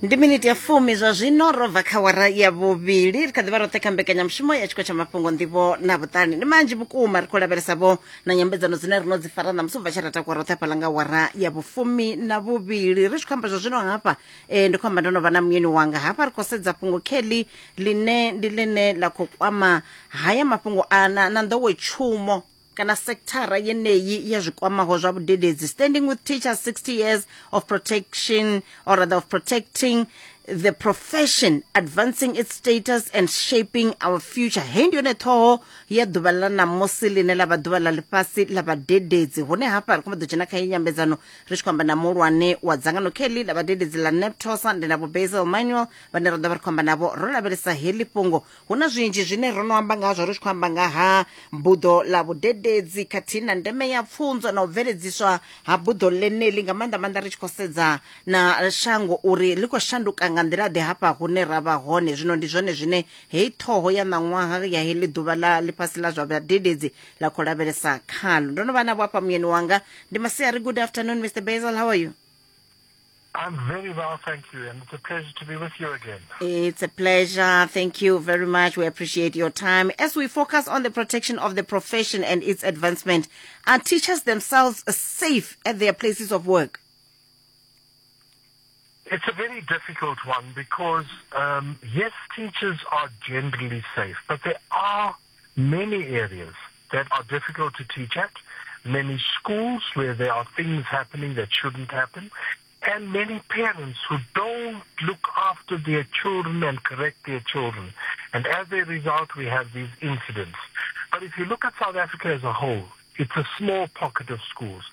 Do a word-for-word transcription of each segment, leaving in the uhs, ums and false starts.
Ndi miniti ya fumi zwa zwino ro bva kha wara ya vhuvhili, ri kha ḓi vha roṱhe kha mbekanyamushumo ya tshiko tsha mafhungo, nḓivho na vhuṱali. Ndi manzhi vhukuma ri khou lavhelesa vho na nyambedzano dzine ri no dzi fara ṋamusi ubva tshe ra takuwa roṱhe hafhaḽa nga wara ya vhufumi na vhuvhili. Ri tshi khou amba zwa zwino hafha, eh, ndi khou amba ndo no vha na muyeni wanga hafha, ri khou sedza fhungo kheḽi ḽine ndi ḽine ḽa khou kwama haya mafhungo a na, na nḓowetshumo kana sekithara yeneyi ya zwikwamaho zwa vhudededzi. Standing with Teachers, sixty years of protection, or rather of protecting the profession, advancing its status and shaping our future. Heyi ndi yone ṱhoho ya ḓuvha ḽa ṋamusi ḽine ḽa vha ḓuvha ḽa ḽifhasi ḽa vhadededzi, hune hafha ri khou ḓo dzhena kha heyi nyambedzano ri tshi khou amba na muhulwane wa dzangano kheḽi ḽa vhadededzi ḽa NAPTOSA, ndi na Vho Basil Manuel vhane ra ḓo vha ri khou amba navho ro lavhelesa heḽi fhungo. Hu na zwinzhi zwine ro no amba ngazwo, ri tshi khou amba nga ha buḓo ḽa vhudededzi khathihi na ndeme ya pfunzo na u bveledziswa ha buḓo ḽeneḽi, nga maanḓa maanḓa ri tshi khou sedza na shango uri ḽi khou shanduka nga nḓila ḓe hafha hune ra vha hone zwino. Ndi zwone zwine heyi ṱhoho ya ṋaṅwaha ya heḽi ḓuvha ḽa ḽifhasi ḽa zwa vhadededzi ḽa khou lavhelesa khalo. Ndo no vha navho hafha muyeni wanga. Ndi masiari. Good afternoon, Mister Basil, how are you? I'm very well, thank you, and it's a pleasure to be with you again. It's a pleasure. Thank you very much. We appreciate your time. As we focus on the protection of the profession and its advancement, are teachers themselves safe at their places of work? It's a very difficult one because, um, yes, teachers are generally safe, but there are many areas that are difficult to teach at, many schools where there are things happening that shouldn't happen, and many parents who don't look after their children and correct their children. And as a result, we have these incidents. But if you look at South Africa as a whole, it's a small pocket of schools,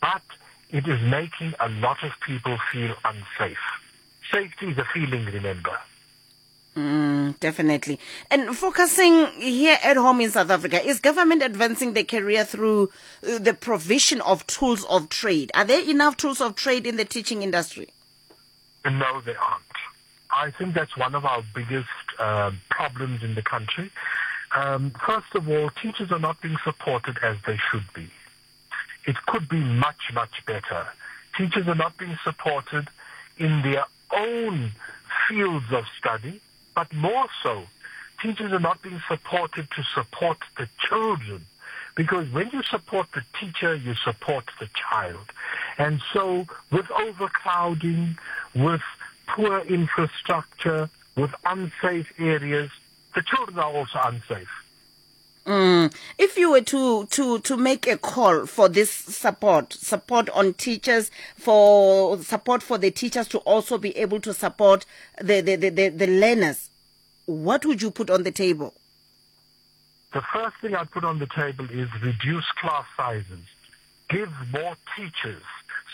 but it is making a lot of people feel unsafe. Safety is a feeling, remember. Mm, definitely. And focusing here at home in South Africa, is government advancing the career through uh, the provision of tools of trade? Are there enough tools of trade in the teaching industry? No, there aren't. I think that's one of our biggest uh, problems in the country. Um, first of all, teachers are not being supported as they should be. It could be much, much better. Teachers are not being supported in their own fields of study, but more so, teachers are not being supported to support the children. Because when you support the teacher, you support the child. And so with overcrowding, with poor infrastructure, with unsafe areas, the children are also unsafe. Mm. If you were to, to, to make a call for this support, support on teachers, for support for the teachers to also be able to support the, the, the, the, the learners, what would you put on the table? The first thing I'd put on the table is reduce class sizes. Give more teachers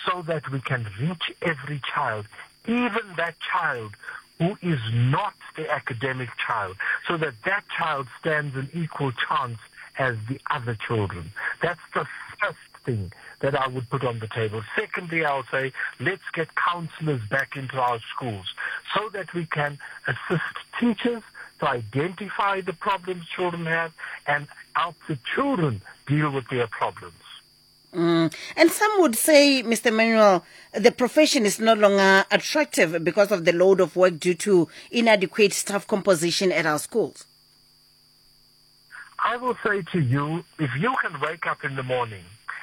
so that we can reach every child, even that child who is not the academic child, so that that child stands an equal chance as the other children. That's the first thing that I would put on the table. Secondly, I'll say, let's get counselors back into our schools so that we can assist teachers to identify the problems children have and help the children deal with their problems. Mm. And some would say, Mister Manuel, the profession is no longer attractive because of the load of work due to inadequate staff composition at our schools. I will say to you, if you can wake up in the morning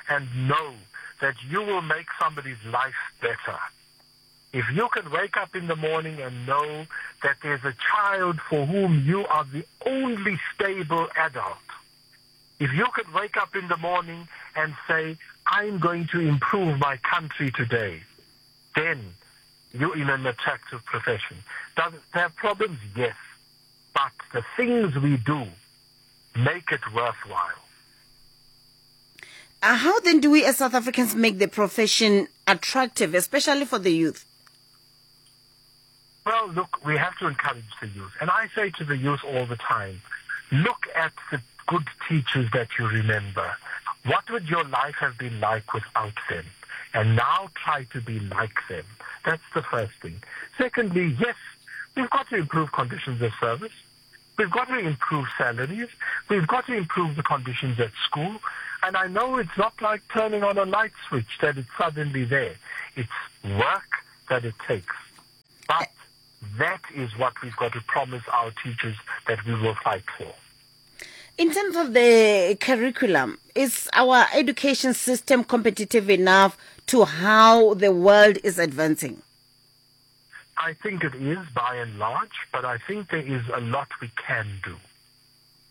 and know that you will make somebody's life better, if you can wake up in the morning and know that there's a child for whom you are the only stable adult, if you could wake up in the morning and say, I'm going to improve my country today, then you're in an attractive profession. Does it have problems? Yes. But the things we do make it worthwhile. Uh, how then do we as South Africans make the profession attractive, especially for the youth? Well, look, we have to encourage the youth. And I say to the youth all the time, look at the good teachers that you remember. What would your life have been like without them? And now try to be like them. That's the first thing. Secondly, yes, we've got to improve conditions of service. We've got to improve salaries. We've got to improve the conditions at school. And I know it's not like turning on a light switch that it's suddenly there. It's work that it takes. But That is what we've got to promise our teachers that we will fight for. In terms of the curriculum, is our education system competitive enough to how the world is advancing? I think it is by and large, but I think there is a lot we can do.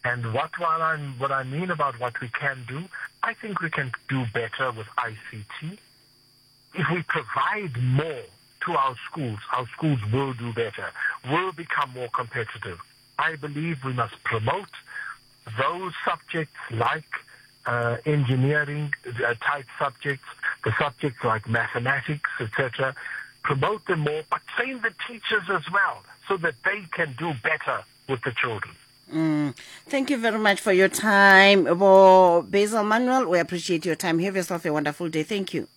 And what, what, I'm, what I mean about what we can do, I think we can do better with I C T. If we provide more to our schools, our schools will do better, will become more competitive. I believe we must promote those subjects like, uh, engineering, uh, type subjects, the subjects like mathematics, et cetera. Promote them more, but train the teachers as well so that they can do better with the children. Mm. Thank you very much for your time, Bo Basil Manuel. We appreciate your time. Have yourself a wonderful day. Thank you.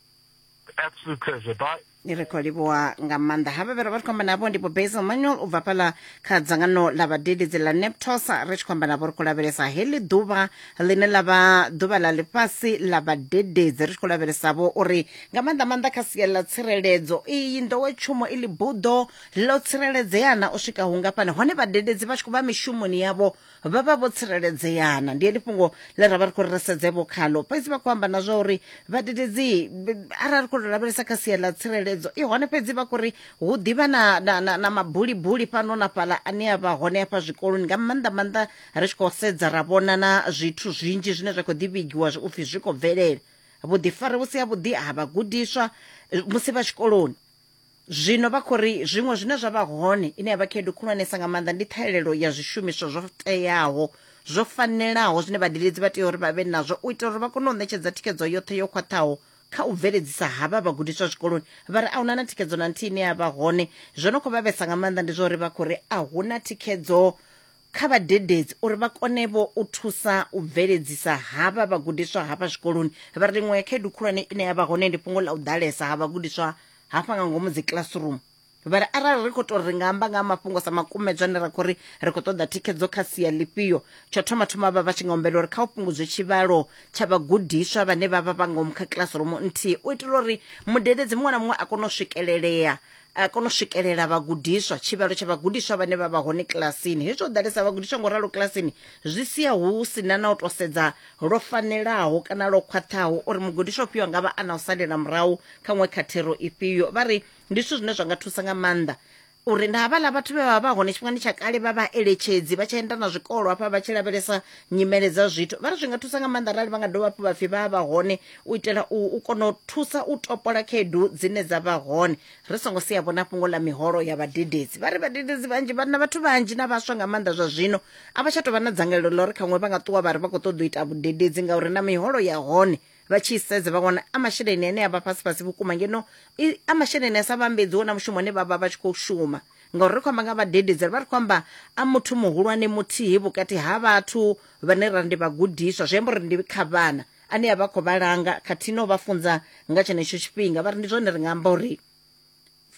Absolute pleasure. Bye. Ni ri khou livhuwa nga maanḓa havha vhe ra vha ri khou amba navho ndi Vho Basil Manuel u bva fhaḽa kha dzangano ḽa vhadededzi ḽa NAPTOSA. Ri tshi khou amba navho ri khou lavhelesa heḽi ḓuvha ḽine ḽa vha ḓuvha ḽa ḽifhasi ḽa vhadededzi, ri tshi khou lavhelesa vho uri nga maanḓa maanḓa kha sia ḽa tsireledzo iyi nḓowetshumo i ḽi buḓo ḽo tsireledzeana u swika hungafhani, hone vhadededzi vha tshi khou vha mishumoni yavho vha vha vho tsireledzeana. Ndi heḽi fhungo ḽe ra vha ri khou ri sedze vho khalo, fhedzi vha khou amba na zwa uri vhadededzi arali ri khou lavhelesa kha sia ḽa tsireledzo i hone, fhedzi vha khou ri hu ḓivha na, na, na, na mabulibuli fhano na fhaḽa ane a vha hone afha zwikoloni, nga maanḓa maanḓa ri tshi khou sedza ra vhona na zwithu zwinzhi zwine zwa khou ḓi vhigiwa upfhi zwi khou bvelela, vhuḓifari vhu si ha vhuḓi ha vhagudiswa musi vha tshikoloni. Zwino vha khou ri zwiṅwe zwine zwa vha hone ine ya vha khaedu khulwanesa nga maanḓa ndi ṱhahelelo ya zwishumiswa zwo teaho zwo fanelaho zwine vhadededzi vha tea uri vha vhe nazwo u itela uri vha kone u ṋetshedza thikhedzo yoṱhe yo khwaṱhaho kha u bveledzisa havha vhagudiswa zwikoloni. Vha ri a huna na thikhedzo na nthihi ine ya vha hone. Zwo no khou vha vhesa nga maanḓa ndi zwa uri vha khou ri a huna thikhedzo kha vhadededzi uri vha kone vho u thusa u bveledzisa havha vhagudiswa hafha zwikoloni. Vha ri ḽiṅwe ya khaedu khulwane ine ya vha hone ndi fhungo ḽa u ḓalesa ha vhagudiswa hafha nga ngomu dzi classroom. Vha ri arali ri khou tou ri nga amba nga mafhungo sa makumedzwa ane ra khou ri ri khou ṱoḓa thikhedzo kha sia ḽifhio, tsho thoma thoma vha vha tshi nga humbela uri kha u fhungudzwe tshivhalo tsha vhagudiswa vhane vha vha vha ngomu kha classroom nthihi u itela uri mudededzi muṅwe na muṅwe a kone u swikelelea a kone u swikelela vhagudiswa, tshivhalo tsha vhagudiswa vhane vha vha hone kilasini. Hezwo u ḓalesa vhagudiswa ngo ralo kilasini zwi sia hu sina na u tou sedza lwo fanelaho kana lwo khwaṱhaho uri mugudiswa ufhio nga vha a na u salela murahu kha ṅwe kha thero ifhio. Vha ri ndi zwithu zwine zwa nga thusa nga maanḓa uri na havhaḽa vhathu vhe vha vha hone tshifhingani tsha kale vha vha eletshedzi vha tshi enda na zwikolo hafha vha tshi lavhelesa nyimele dza zwithu, vha ri zwi nga thusa nga maanḓa arali vha nga dovha hafhu vha pfhi vha vha hone u itela u, u kona u thusa u topola khaedu dzine dza vha hone. Ri songo sia vhona fhungo ḽa miholo ya vhadededzi. Vha ri vhadededzi vhanzhi vhana vhathu vhanzhi na vhaswa nga maanḓa zwa zwino a vha tsha tou vha na dzangalelo ḽa uri khaṅwe vha nga ṱuwa vha ri vha khou ṱoḓa u ita vhudededzi ngauri na miholo ya hone vha tshi sedza vha wana a masheleni ane a vha fhasi fhasi vhukuma, ngeno a masheleni a sa vhambedziho na mushumo ane vha vha vha tshi khou shuma. Ngauri ri khou amba nga vhadededzi, ri vha ri khou amba a muthu muhulwane muthihi vhukati ha vhathu vhane ra ndi vhagudiswa, zwi amba uri ndi kha vhana ane a vha khou vhalanga khathihi no vha funza nga tshenetsho tshifhinga. Vha ri ndi zwone ri nga amba uri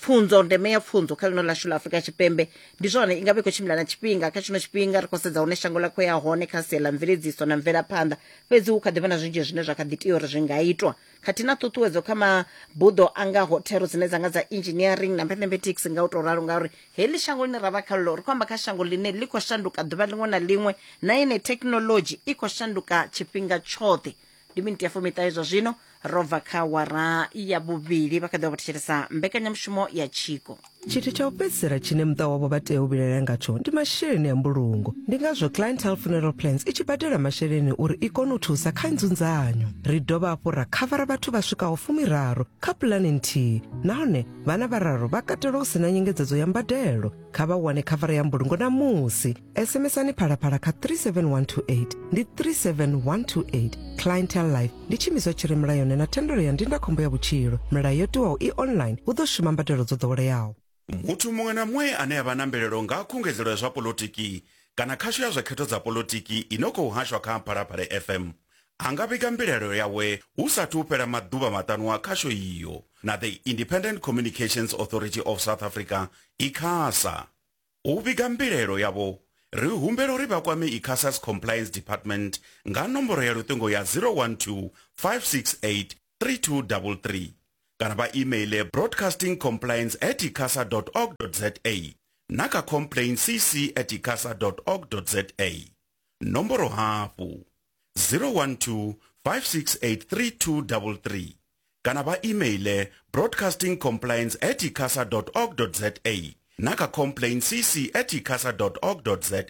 pfunzo, ndeme ya pfunzo kha ḽino ḽashu ḽa Afrika Tshipembe ndi zwone i nga vha i khou tshimbila na tshifhinga. Kha tshino tshifhinga ri khou sedza hune shango ḽa khou ya hone kha sia ḽa mveledziso na mvelaphanḓa, fhedzi hu kha ḓi vha na zwinzhi zwine zwa kha ḓi tea uri zwi nga itwa, khathihi na ṱhuṱhuwedzo kha mabuḓo a ngaho thero dzine dza nga dza engineering na mathematics nga u tou ralo, ngauri heḽi shango ḽine ra vha khaḽo ri khou amba kha shango ḽine ḽi khou shanduka ḓuvha ḽiṅwe na ḽiṅwe, na ine thekinoḽodzhi i khou shanduka tshifhinga tshoṱhe. Ndi miniti ya fumiṱahe zwa zwino ro bva kha wara ya vhuvhili, vha kha ḓi vha vho thetshelesa mbekanyamushumo ya Tshiko. Tshithu tsha u fhedzisela tshine muṱa wavho vha tea u vhilaela ngatsho ndi masheleni a mbulungo. Ndi ngazwo Clientele Funeral Plans i tshi badela masheleni uri i kone u thusa kha nzunzanyo. Ri dovha hafhu ra khavara vhathu vha swikaho fumiraru kha pulani nthihi, nahone vhana vhararu vha katelwa hu sina nyengedzedzo ya mbadelo. Kha vha wane khavara ya mbulungo namusi. SMSani Phalaphala kha three seven one two eight, ndi three seven one two eight. Clientele Life ndi tshiimiswa tshi re mulayoni na thendelo ya ndindakhombo ya vhutshilo. Milayo yo tiwaho i online, hu ḓo shuma mbadelo dzo ḓoweleaho. Muthu muṅwe na muṅwe ane a vha na mbilaelo nga khungedzelo ya zwa polotiki kana khasho ya zwa khetho dza polotiki ino khou hashwa kha Phalaphala F M a nga vhiga mbilaelo yawe hu sathu fhela maḓuvha maṱanu a khasho iyo na the Independent Communications Authority of South Africa ICASA. U vhiga mbilaelo yavho ri humbela uri vha kwame ICASA's Compliance Department nga nomboro ya luṱingo ya zero one two, five six eight, three two three three kana vha emaile broadcasting compliance at icasa dot org dot za. na kha complaint cc at icasa dot org dot za. Nomboro hafhu zero one two five six eight three two three three kana vha emaile broadcasting compliance at icasa dot org dot za na kha complaint cc at icasa dot org dot za.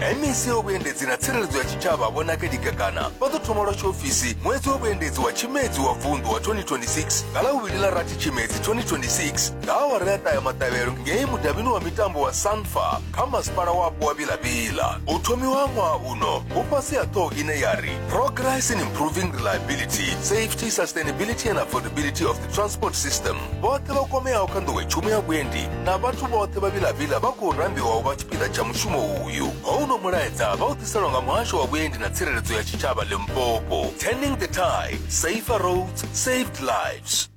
M E C wa vhuendedzi na tsireledzo ya tshitshavha Vho Nakedi Kekana vha ḓo thoma lwa tshiofisi ṅwedzi wa vhuendedzi wa Tshimedzi wa vunḓu wa twenty twenty-six nga ḽa vhuvhili ḽa rathi Tshimedzi twenty twenty-six nga awara ya ṱahe maṱavhelo ngei mudavhini wa mitambo wa Sanfa kha masipala wapo wa Vila-Vila. U thomiwa ṅwaha uno hu fhasi ha ṱhoho ine ya ri Progress in Improving Reliability, Safety, Sustainability and Affordability of the Transport System. Vhoṱhe vha kwameaho kha nḓowetshumo ya vhuendi na vhathu vhoṱhe vha Vila-Vila vha khou rambiwa u vha tshipiḓa tsha mushumo uyu. Houno mulaedza vha u ḓiselwa nga muhasho wa vhuendi na tsireledzo ya tshitshavha Limpopo. Turning the tide, safer roads, saved lives.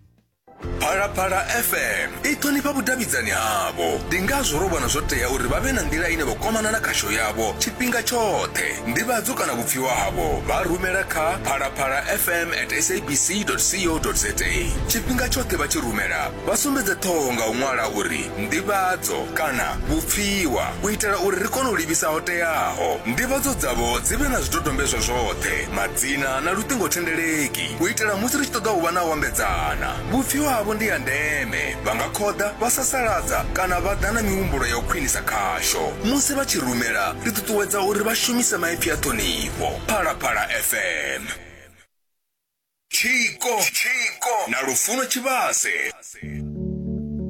Phalaphala F M i ṱhonifha vhudavhidzani havho, ndi ngazwo ro vhona zwo tea uri vha vhe na nḓila ine vha kwamana na khasho yavho tshifhinga tshoṱhe. Nḓivhadzo kana vhupfiwa havho vha rumela kha phalaphala f m at s a b c dot co dot za. Tshifhinga tshoṱhe vha tshi rumela vha sumbedze ṱhoho nga u ṅwala uri nḓivhadzo kana vhupfiwa u itela uri ri kone u livhisa ho teaho. Nḓivhadzo dzavho dzi vhe na zwidodombedzwa zwoṱhe, madzina na luṱingothendeleki u itela musi ri tshi ṱoḓa u vha na u ambedzana. Vhupfiwa havho ndi ya ndeme, vha nga khoḓa, vha sasaladza kana vha ḓa na mihumbulo ya u khwinisa khasho. Musi vha tshi rumela ri ṱuṱuwedza uri vha shumise maipfi a ṱhonifho. Phalaphala F M. Tshiko, Tshiko na Lufuno Tshivhase.